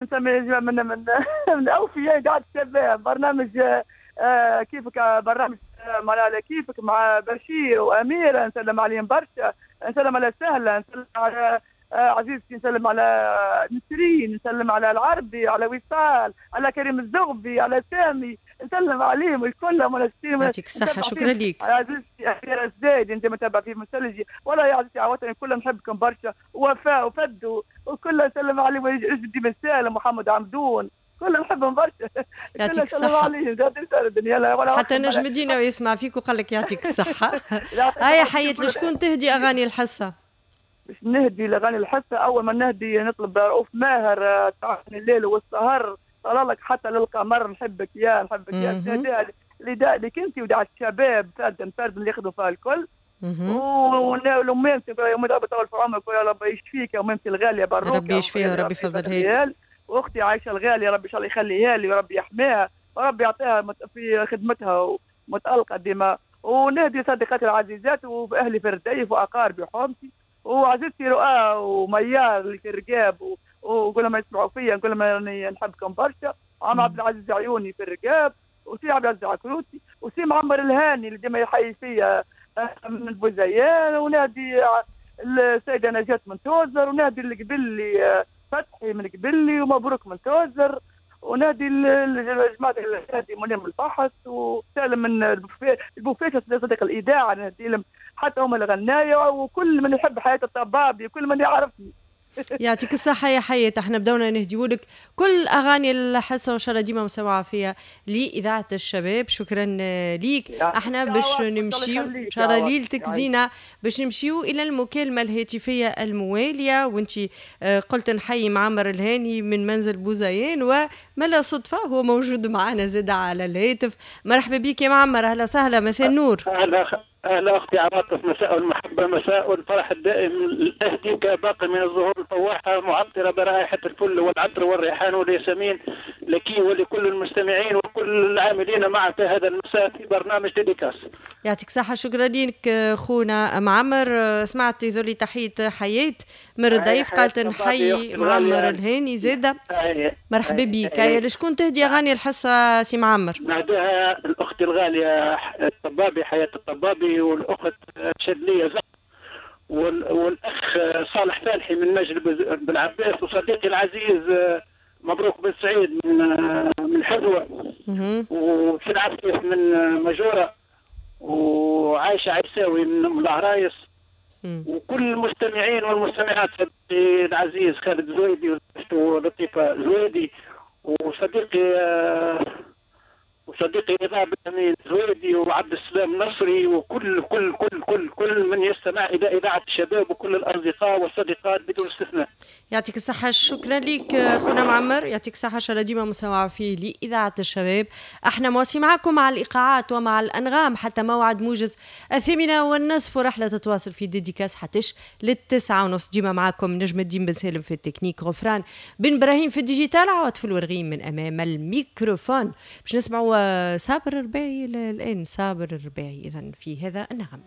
نسمي من اوفياء اذاعة الشباب، برنامج كيفك، برنامج معناها كيفك مع بشير واميره، نسلم عليهم برشا، نسلم على سهلة، نسلم على عزيزتي، نسلم على نسرين، نسلم على العربي، على وصال، على كريم الزغبي، على سامي، نسلم عليهم الكل. يعطيك الصحة، شكرا لك. عزيزتي أميرة الزايد، انت متابعة في مسلجي ولا يا عزيزتي عواتني، كلهم نحبكم برشا، وفاء وفدو وكل نسلم عليهم، جدي بن سالم، محمد عمدون، كلهم نحبهم برشا. يعطيك الصحة. حتى نجم الدين يسمع فيك وقال لك يعطيك الصحة. هيا حيت، لشكون تهدي أغاني الحصة؟ باش نهدي الاغاني الحصه، اول ما نهدي نطلب رؤوف ماهر، تعرفني الليل والسهر، طلع لك حتى للقمر، نحبك يا نحبك يا. نهديها لك انت ودعاء الشباب فردا فردا اللي يخدموا فيها الكل، والأميمتي يا ربي يطول في عمرك ويا رب يشفيك يا أميمتي الغالية بروكة، ربي يشفيها وربي يفضلها لك، واختي عايشه الغالية ربي ان شاء الله يخليها لي وربي يحميها وربي يعطيها في خدمتها ومتألقه ديما. ونهدي صديقاتي العزيزات واهلي في الرديف واقاربي وحومتي وعزيزتي رؤى وميار اللي في الرقاب، وكل ما يسمعوا فيا نقول لهم راني نحبكم برشا. عم عبد العزيز عيوني في الرقاب، وسي عبد العزيز عكروتي، وسي معمر الهاني اللي ديما يحيي فيا من البوزيان، ونادي السيدة نجاة من توزر، ونادي القبلي فتحي من قبلي، ومبروك من توزر، ونادي جماعة نادي منير من الفحص، وسالم من البوفيه صديق الإذاعة، نادي لهم حتى هم الغناية، وكل من يحب حياة الطبابي وكل من يعرفني. يعطيك الصحة يا حياة، احنا بدونا نهديولك كل أغاني الحصة وإن شاء الله ديما مسموعة فيها لإذاعة الشباب. شكرا ليك. احنا باش نمشيو إن شاء الله ليلتك زينة، باش نمشيو إلى المكالمة الهاتفية الموالية، وانت قلت نحيي معمر الهاني من منزل بوزيان، وما صدفة هو موجود معنا زاد على الهاتف. مرحبا بك يا معمر، أهلا وسهلا، مساء النور. أهلا أختي عواطف، مساء المحبة، مساء الفرح الدائم. أهديك باقي من الزهور الفواحة معطرة برائحة الفل والعطر والريحان والياسمين لك ولكل المستمعين وكل العاملين معك هذا المساء في برنامج dédicace. يعطيك صحة، شكرا لك خونا معمر. سمعت يزولي تحية حياة من الضيف، قالت نحيي معمر الهاني زادة. مرحبا بك. لشكون تهدي أغاني الحصة سي معمر؟ نهديها الأخت الغالية الطبابي حياة الطبابي، والأخت شدلية زق، والأخ صالح فالحي من مجل بالعباس، وصديقي العزيز مبروك بن سعيد من حلوة، وسي العفيف من مجورة، وعايشة عيساوي من العرايس، وكل المستمعين والمستمعات، صديقي العزيز خالد زويدي ولطيفة زويدي، وصديقي رضا بن زويدي، وعبد السلام نصري، وكل كل كل كل كل من يستمع الى اذاعة الشباب، وكل الاصدقاء والصديقات بدون استثناء. يعطيك الصحة، شكرا لك خونا معمر، يعطيك الصحة، ان شاء الله ديما مساوعه فيه لاذاعة الشباب. احنا مواصلين معكم مع الايقاعات ومع الانغام حتى موعد موجز 8:30، ورحله تتواصل في dédicace حتىش 9:30. ديما معكم نجم الدين بن سالم في التكنيك، غفران بن ابراهيم في ال digital، عواطف الورغيم من امام الميكروفون. باش نسمعوا صابر الرباعي الآن، صابر الرباعي إذن في هذا النغم.